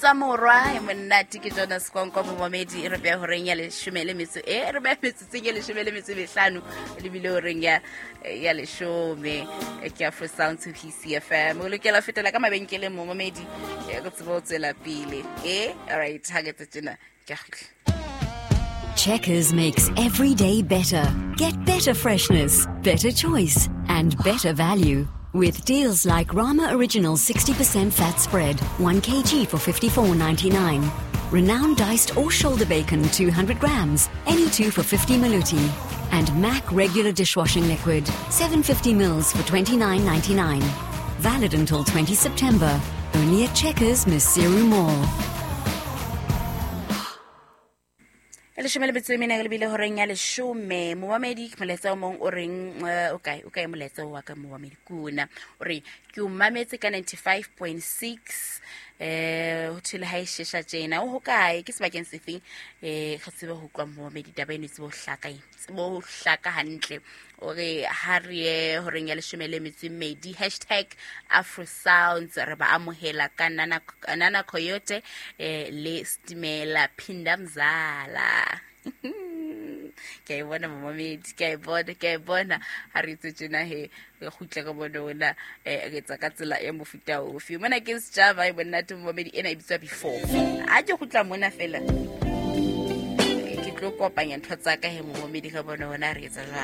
Bitswa Morwa e monate ke Jonas Konko momamedi e re beha horeng ya leshome le metso e re beha metsotsong ya leshome le metso e mehlano lebile horeng ya ya leshome. E ke Afro Sound to PCFM. O lokela ho fetela ka mabenkeleng momamedi e re tsebe ho tswela pele. E all right, ha ke tse tjena ke a kgutla. Checkers makes every day better. Get better freshness, better choice, and better value. With deals like Rama Original 60% fat spread, 1 kg for 54.99. Renowned diced or shoulder bacon 200 grams, any two for 50 maluti. And Mac regular dishwashing liquid, 750 mils for 29.99. Valid until 20 September. Only at Checkers, Maseru Mall. E leshome le metso e mene lebile horeng ya leshome momamedi ke molaetsa o mong o reng o kae o kae molaetsa wa ka momamedi kuna o re ke o mametse ka 95.6 ho thwe le ha e shesha tjena o hokae ke sebakeng sefeng re tsebe ho utlwa momamedi taba eno e tsebe ho hlaka e tsebe ho hlaka hantle o re ha re ye horeng ya leshome le metso e mmedi hashtag Afro Sounds re ba amohela ka Nana, Nana Coyote le Stimela Phinda Mzala. Ke a e bona momamedi, ke a e bona, ke a e bona. Ha re itse tjena he re kgutle re bone ona re etsa ka tsela e mofuta ofe. Mona ke Sjava e monate momamedi ena e bitswa Before. Ha ke kgutla mona fela ke tlo kopanya ntho tsa ka he momamedi re bone ona re etsa jwang.